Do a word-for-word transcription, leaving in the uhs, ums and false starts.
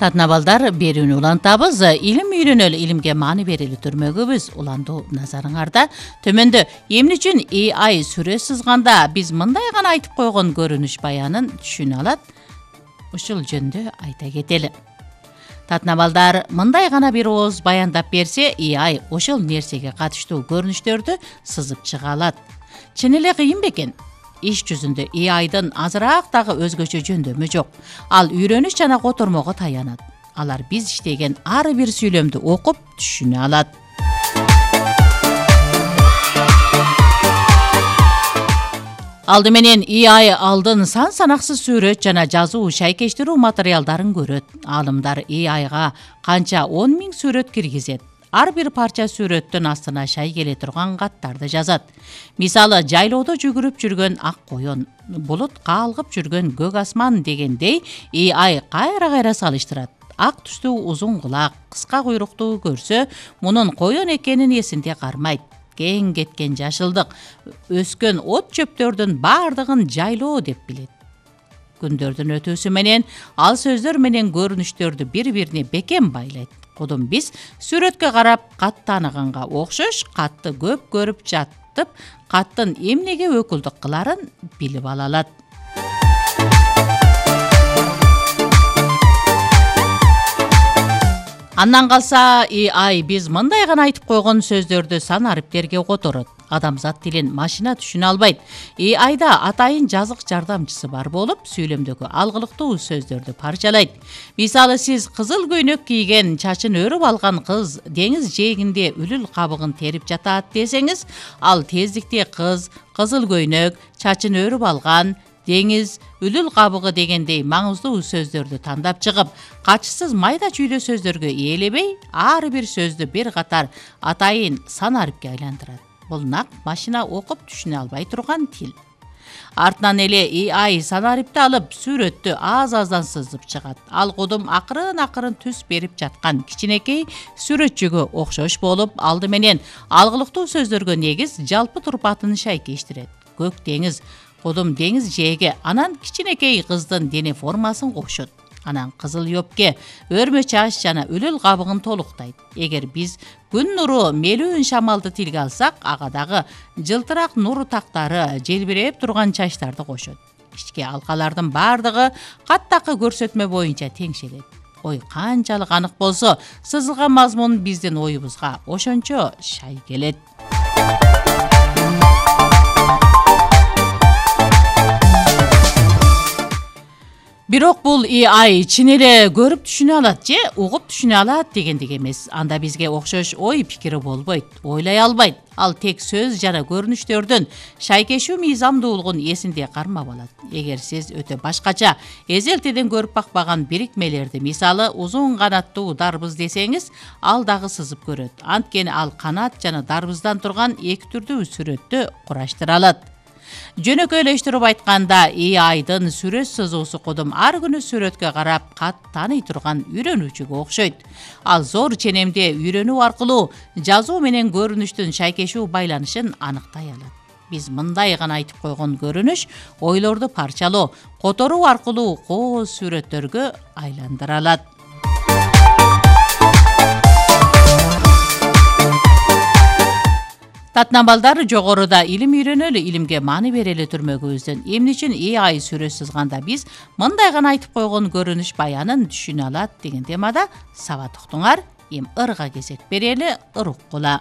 Татна балдар берүүнү улантабыз. Илим үйрөнөлү, илимге маани берели түрмөгүбүз улантуу назарыңарда. Төмөндө эмне үчүн A I сүрө сызганда биз мындай гана айтып койгон көрүнүш баянын түшүнө алат? Ушул жөнүндө айта кетели. Татна балдар мындай гана бир ооз баяндап берсе, A I ошол нерсеге катыштуу көрүнүштөрдү сызып чыга алат. Чын эле кыйын бекен? Иш жүзүндө A I'дын азыраак дагы өзгөчө жөндөмү жок. Ал үйрөнүш жана котормого таянат. Алар биз иштеген ар бир сүйлөмдү окуп түшүнө алат. Алды менен A I алдын сан санаксыз сүрөт жана жазуу шайкештирүү материалдарын көрөт. Аалымдар A I'га канча он миң сүрөт киргизет. Ар бир парча сүрөттүн астына шай келе турган каттарды жазат. Мисалы, жайлоодо жүгүрүп жүргөн ак коён, булут каалгып жүргөн көк асман дегендей A I кайра-кайра салыштырат. Ак түстүү узун кулак, кыска куйруктуу көрсө, мунун коён экенин эсинде кармайт. Кең кеткен жашылдык, өскөн от чөптөрдүн баардыгын жайлоо деп билет. Күндөрдүн өтүүсү менен ал сөздөр менен көрүнүштөрдү бири-бирине бекем байлайт. Кудум биз сүрөткө карап кат тааныганга окшош катты көп көрүп жаттып, каттын эмнеге өкүлдүк кыларын билип ала алат. Андан калса A I биз мындай гана айтып койгон сөздөрдү сан ариптерге которот. Адамзат тилин машина түшүнө албайт. A I'да атайын жазык жардамчысы бар болуп, сүйлөмдөгү алгылыктуу сөздөрдү парчалайт. Мисалы, сиз кызыл көйнөк кийген, чачын өрүп алган кыз деңиз жээгинде үлүл кабыгын терип жатат десеңиз, ал тездикте кыз, кызыл көйнөк, чачын өрүп алган, деңиз, үлүл кабыгы дегендей маңыздуу сөздөрдү тандап чыгып, качысыз майда чүйдө сөздөргө ээлебей, ар бир сөздү бир катар атайын сан арипке айландырат. Бул нак машина окуп түшүнө албай турган тил. Артынан эле A I сан арипти алып, сүрөттү аз-аздан сызып чыгат. Ал кудум акырын-акырын түс берип жаткан кичинекей сүрөтчүгө окшош болуп, алды менен алгылыктуу сөздөргө негиз жалпы турпатын шайкештирет. Көк деңиз, кудум деңиз жээге, анан кичинекей кыздын дене формасын кошот. Анан кызыл ёпке, өрмө чач жана үлүл кабыгын толуктайт. Эгер биз күн нуру мелүүн шамалды тилге алсак, ага дагы жылтырак нур тактары, желбиреп турган чачтарды кошот. Ички алкалардын баардыгы каттакы көрсөтмө боюнча теңшелет. Ой канчалык анык болсо, сызылган мазмун биздин оюбузга ошончо шай келет. Бирок бул A I чын эле көрүп түшүнө алат же угуп түшүнө алат дегендик эмес. Анда бизге окшош ой пикири болбойт, ойлой албайт. Ал тек сөз жана көрүнүштөрдүн шайкешүү мыйзамдуулугун эсинде кармап алат. Эгер сиз өтө башкача, эзелтеден көрүп бакпаган бирикмелерди, мисалы, узун канаттуу дарбыз десеңиз, ал дагы сызып көрөт. Анткени ал канат жана дарбыздан турган эки түрдүү сүрөттү кураштыра алат. Жөнөкөйлөштүрүп айтканда, A I'дын сүрөт сызуусу кудум ар күнү сүрөткө карап кат тааный турган үйрөнүүчүгө окшойт. Ал зор ченемде үйрөнүү аркылуу жазуу менен көрүнүштүн шайкешүү байланышын аныктай алат. Биз мындай гана айтып койгон көрүнүш ойлорду парчалоо, которуу аркылуу кооз сүрөттөргө айландыра алат. Татна балдар, жогоруда илим үйрөнөлү, илимге маани берели түрмөгүбүздөн эмне үчүн A I сүрө сызганда биз мындай гана айтып койгон көрүнүш баянын түшүнө алат деген темада сабат уктуңар. Эми ырга кезек берели, ыр уккула.